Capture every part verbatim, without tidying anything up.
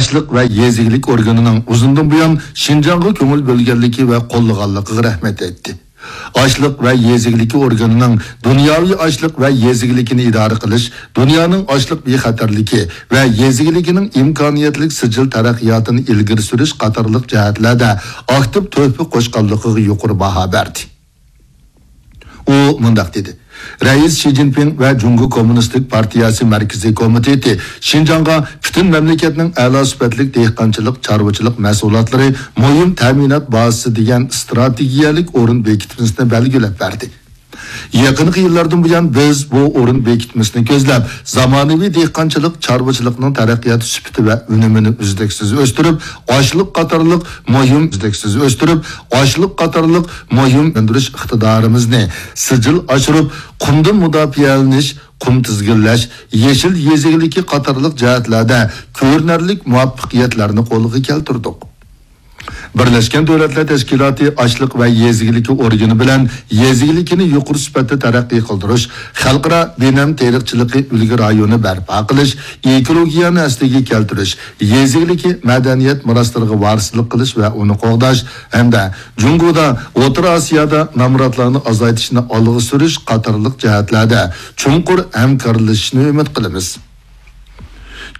ئاشلىق ۋە يېزا ئىگىلىك ئورگىنىنىڭ ئۇزۇندىن بۇيان شىنجاڭغا كۆڭۈل بۆلگەنلىكى ۋە قوللىغانلىقىغا رەھمەت ئېيتتى. ئاشلىق ۋە يېزا ئىگىلىكى ئورگىنىنىڭ دۇنياۋى ئاشلىق ۋە يېزا ئىگىلىكىنى ئىدارە قىلىش، دۇنيانىڭ ئاشلىق بىخەتەرلىكى ۋە يېزا ئىگىلىكىنىڭ ئىمكانىيەتلىك سىجىل تەرەققىياتىنى ئىلگىرى سۈرۈش قاتارلىق جەھەتلەردە ئاكتىپ تۆھپە قوشقانلىقىغا يۇقىرى باھا بەردى. ئۇ مۇنداق دېدى، رەئىس شى جىنپىڭ ۋە جۇڭگو كوممۇنىستىك پارتىيەسى مەركىزىي كومىتېتى شىنجاڭغا پۈتۈن مەملىكەتنىڭ ئەلا سۈپەتلىك دېھقانچىلىق، چارۋىچىلىق مەھسۇلاتلىرى مۇھىم تەمىنات بازىسى دېگەن ئىستراتېگىيەلىك ئورۇن بېكىتمىسىنى بەلگىلەپ بەردى. يېقىنقى يىللاردىن بۇيان، بىز بۇ ئورۇن بېكىتمىسىنى كۆزلەپ، زامانىۋى دېھقانچىلىق، چارۋىچىلىقنىڭ تەرەققىياتى سۈپىتى ۋە ئۈنۈمىنى ئۈزلۈكسىز ئۆستۈرۈپ، ئاشلىق قاتارلىق مۇھىم، ئۈزلۈكسىز ئۆستۈرۈپ، ئاشلىق قاتارلىق مۇھىم ئۆندۈرۈش ئىقتىدارىمىزنى سىجىل ئاشۇرۇپ، قۇمدىن مۇداپىئەلىنىش، قۇم تىزگىنلەش، يېشىل يېزا ئىگىلىكى قاتارلىق جەھەتلەردە كۆرۈنەرلىك مۇۋەپپەقىيەتلەرنى قولغا كەلتۈردۇق. بىرلەشكەن دۆلەتلەر تەشكىلاتى ئاشلىق ۋە يېزا ئىگىلىكى ئورگىنى بىلەن يېزا ئىگىلىكىنى يۇقىرى سۈپەتتە تەرەققىي قىلدۇرۇش، خەلقئارا بىنەم تېرىقچىلىقى ئۈلگە رايونى بەرپا قىلىش، ئېكولوگىيەنى ئەسلىگە كەلتۈرۈش، يېزا ئىگىلىكى مەدەنىيەت مىراسلىرىغا ۋارىسلىق قىلىش ۋە ئۇنى قوغداش ھەمدە جۇڭگودا، ئوتتۇرا ئاسىيادا نامراتلارنى ئازايتىشنى ئالغا سۈرۈش قاتارلىق جەھەتلەردە چوڭقۇر ھەمكارلىشىشنى ئۈمىد قىلىمىز.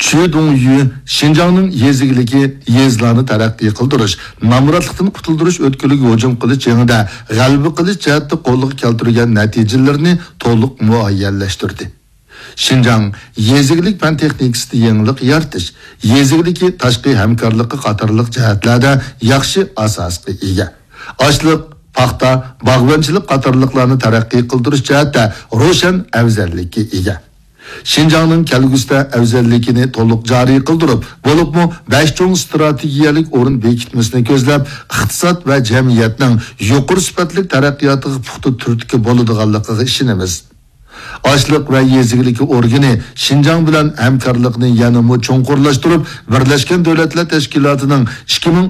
چۈ دۇڭيۈ شىنجاڭنىڭ يېزا ئىگىلىكى، يېزىلارنى تەرەققىي قىلدۇرۇش، نامراتلىقتىن قۇتۇلدۇرۇش ئۆتكىلىگە ھۇجۇم قىلىش جېڭىدە غەلىبە قىلىش جەھەتتە قولغا كەلتۈرگەن نەتىجىلىرىنى تولۇق مۇئەييەنلەشتۈردى. شىنجاڭ يېزا ئىگىلىك پەن تېخنىكىسىدا يېڭىلىق يارىتىش، يېزا ئىگىلىكى تاشقى ھەمكارلىقى قاتارلىق جەھەتلەردە ياخشى ئاساسقا ئىگە. ئاشلىق، پاختا، باغۋەنچىلىك قاتارلىقلارنى تەرەققىي قىلدۇرۇش جەھەتتە روشەن ئەۋزەللىككە ئىگە. شىنجاڭنىڭ كەلگۈسىدە ئەۋزەللىكىنى تولۇق جارى قىلدۇرۇپ، بولۇپمۇ بەش چوڭ ئىستراتېگىيەلىك ئورۇن بېكىتمىسىنى كۆزلەپ، ئىقتىساد ۋە جەمئىيەتنىڭ يۇقىرى سۈپەتلىك تەرەققىياتىغا پۇختا تۈرتكە بولىدىغانلىقىغا ئىشىنىمىز. ئاشلىق ۋە يېزا ئىگىلىكى ئورگىنى شىنجاڭ بىلەن ھەمكارلىقنى يەنىمۇ چوڭقۇرلاشتۇرۇپ، بىرلەشكەن دۆلەتلەر تەشكىلاتىنىڭ ئىككى مىڭ